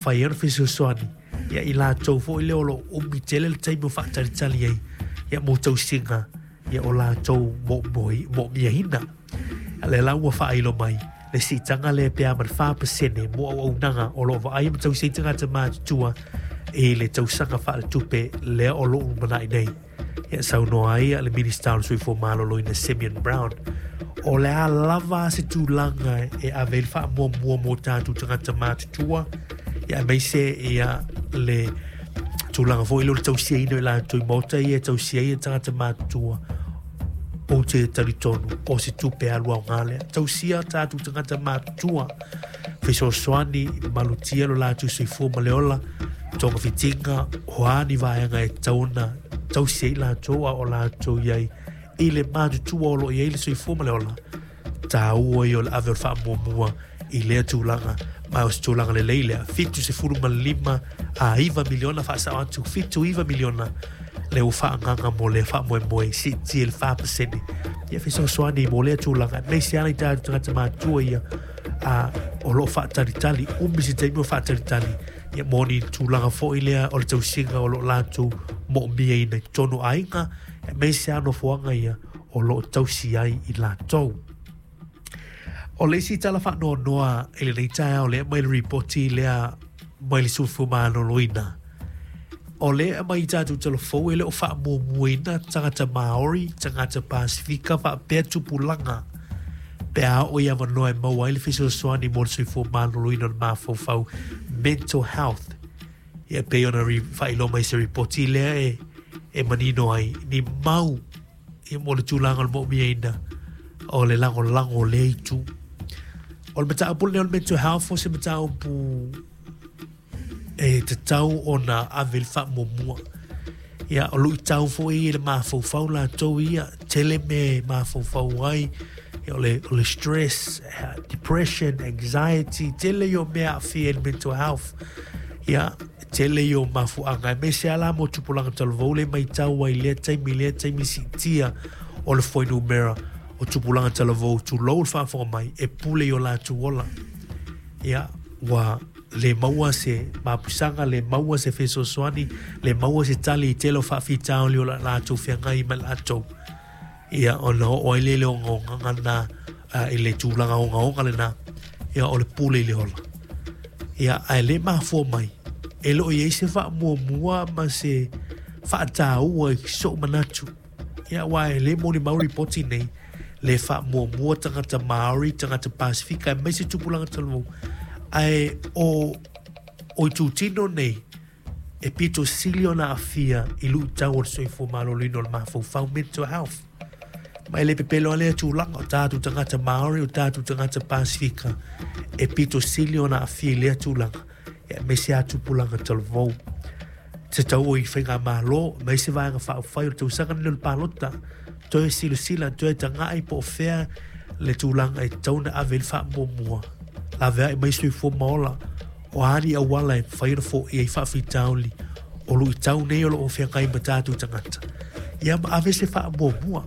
Fai ai ona fesoasoani ia i latou foi lea o lo o umi tele le taimi o faatalitali ai ia mo tausiga ia o latou moomiaina. A lea la ua faailo mai le siitaga lea pe a ma le 4% mo auaunaga o lo o vaaia ma tausi ai tagata matutua i le tausaga faaletupe lea o lo o lumanai nei. Ia saunoa ai le Minisita o le Soifua Maloloina Simeon Brown, o le a lava se tulaga e ave ai le faamuamua mo tatou tagata matutua, ia aemaise ia le tulaga foi lea o le tausiaina o i latou i maota ia e tausia ai tagata matutua, ou te talitonu o se tupe alu aoga lea. Tausia tatou tagata matutua, fesoasoani, malutia lo latou soifua ma le ola, togafitiga, o a ni vaega e tatau ona tausi ai latou a o latou i ai i le matutua o lo o i ai le soifua ma le ola, taua ia o le ave o le faamuamua i lea tulaga, ma o se tulaga lelei lea. 75 a 9 miliona faasao atu, 79 miliona lea ua faaagaga mo lea faamoemoe siitia i le 4%. Ia fesoasoani mo lea tulaga, aemaise lava nai tatou tagata matutua ia a, o lo o faatalitali, umi se taimi o faatalitali ia mo ni tulaga foi lea o le tausiga o lo o latou moomiaina i totonu o aiga, aemaise lava nofoaga ia o lo o tausi ai i latou. O le isi tala faanoanoa i lenei taeao lea mai le ripoti lea mai le Soifua Maloloina, o lea e aumai i tatou talafou e le o faamuamuaina tagata Māori, tagata Pasifika faapea tupulaga pe a oo i avanoa e maua ai le fesoasoani mo le soifua maloloina o le mafaufau, mental health. Ia pei ona faailoa mai se ripoti lea e, e manino ai ni mau ia mo le tulaga o le moomiaina o le lagolago o lea itu. O le mataupu lenei o le mental health o se mataupu e tatau ona ave le faamuamua. Ia, o luitau foi i le mafaufau latou ia, tele mea e mafaufau ai, ia, o le, o le stress, depression, anxiety, tele ia o mea aafia i le mental health. Ia, tele ia o mafuaaga, aemaise lava la mo tupulaga talavou le matau ai i lea taimi, lea taimi siitia o le fuainumera o tupulaga talavou, tulou le faafofoga mai, e pule i o latou ola. Ia, ua le maua se mapusaga, le maua se fesoasoani, le maua se tali i tele o faafitauli o la latou feagai ma latou. Ia, ona oo ai lea i le ogaogaga lena, i le tulaga ogaoga lena, ia, o le pule i le ola. Ia, ae le mafua mai, e le o i ai se faamuamua ma se faataua i so'u manatu. Ia, aua e le molimau ripoti nei, le faamuamua tagata Māori, tagata Pasifika, aemaise tupulaga talavou. Ae o, o itutino nei, e pito sili ona aafia i luitau o le soifua maloloina o le mafaufau, mental health. Ma e le pepelo lava lea tulaga, o tatou tagata Māori, o tatou tagata Pasifika, e pito sili ona aafia i lea tulaga, aemaise lava tupulaga talavou. Se tau i faigamalo, aemaise vaega faaupufai o le tausaga lenei o le palota, toe silasila, toe tagai po o fea le tulaga e tatau ona ave i le faamuamua, laveai mai soifua ma ola, o a ni auala e mafai ona foia ai faafitauli o luitau nei o lo o feagai ma tatou tagata. Ia ma ave se faamuamua.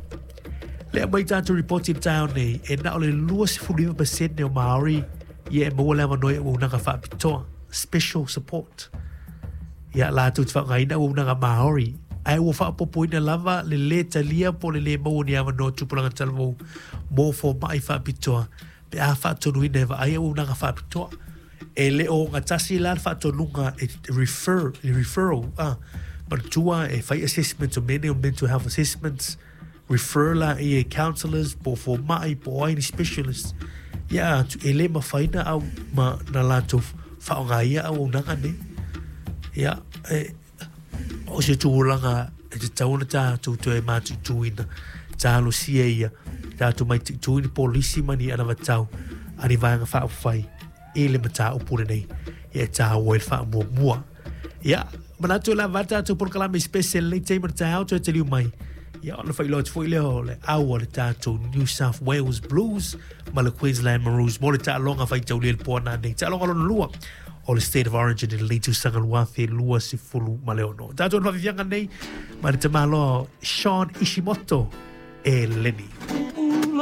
Lea mai tatou ripoti i le taeao nei, e na o le 29% o Māori ia e maua le avanoa i auaunaga faapitoa, special support. Ia latou te faaaogaina auaunaga Māori, ae ua faaopoopoina lava le lē talia po o le lē maua o ni avanoa tupulaga talavou mō fomai faapitoa pe a faatonuina e vaai auaunaga faapitoa. E le o ogatasi la le faatonuga e refer, le referral, ah, manatua e fai assessments o mea nei o mental health assessments, refer la ia i counsellors po o fomai po o ai ni specialists ia atu e le mafai na au ma na latou faaaoga ia auaunaga nei. Ia, e, o se tulaga e tatau ona tatou toe matuituina, talosia ia, tatou maituitu i ni polisi ma ni anavatau a ni vaega faaupufai i le mataupu lenei ia e tāua ai le faamuamua. Ia, manatu e lava tatou polokalame special lenei taimi o le taeao toe taliu mai. Ia, ona faailoa atu foi lea o le au a le tatou New South Wales Blues ma le Queensland Maroons mo le taaloga faitaulia i le po nanei. Taaloga lona lua o le State of Origin i lenei tausaga 2026. Tatou na faafiafiaga nei ma le tamaloa Sean Ishimoto e Lenny.